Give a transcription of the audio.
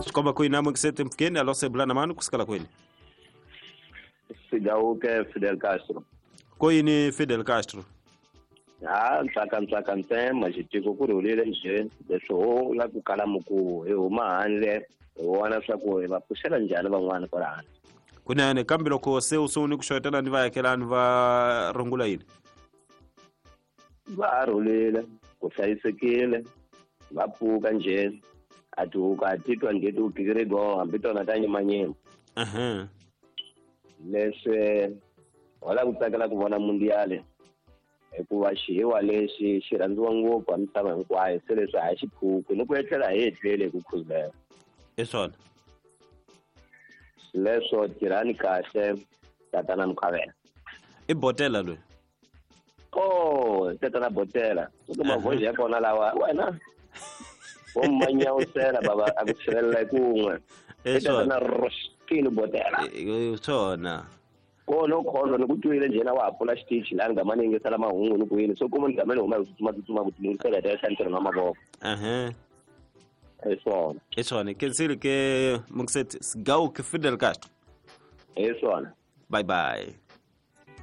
Swikomba ku yini mukisete mpfukeni alo sebulana mani kusukela kwini? Sigawuke Fidel Castro. Ko yini Fidel Castro? Ha ntsaka ntsaka ntsema xitiko ku rhulile njhe leswi ho la ku kala mukuvo hi huma handle hi vona swa ku hi va pfuxela njhani van'wana kwala handle. Kunene kambe loko se u sungule ku xewetela ni vaakelani va rungula yini? Va ha rhulile ku hlayisekile va pfuka njhe a tihuku a titwa njhe ti gigirigo hambi tona ta nyimanyima. Leswi wala ku tsakela ku vona mundiale hikuva xihiwa lexi xi rhandziwa ngopfu a misava hinkwayo se leswi a hi xiphuku ni ku etlela hi etlele hi ku khuzela. I swona. Leswo tirhani kahle tatana Mukhavela. I botela loyi. Oh, tatana botela. Ku mavhoji ya kona lawa wena. Wo manyawusela baba a ku tshirelela hi kun'we. I swona. Tatana Roskini botela. I swona. Kona kholo ni ku twile njhena wa ha pfula xitichi laha ni gama ni yingisela mahungu ni ku yini so kuma ni game ni huma hi ku tsutsuma tsutsuma ku tilunghisela hi ta xa ntirho na mavoko. Hi swona. I swona. Kensile ke mukisete Sigawuke Fidel Castro. Hi swona. Bye bye.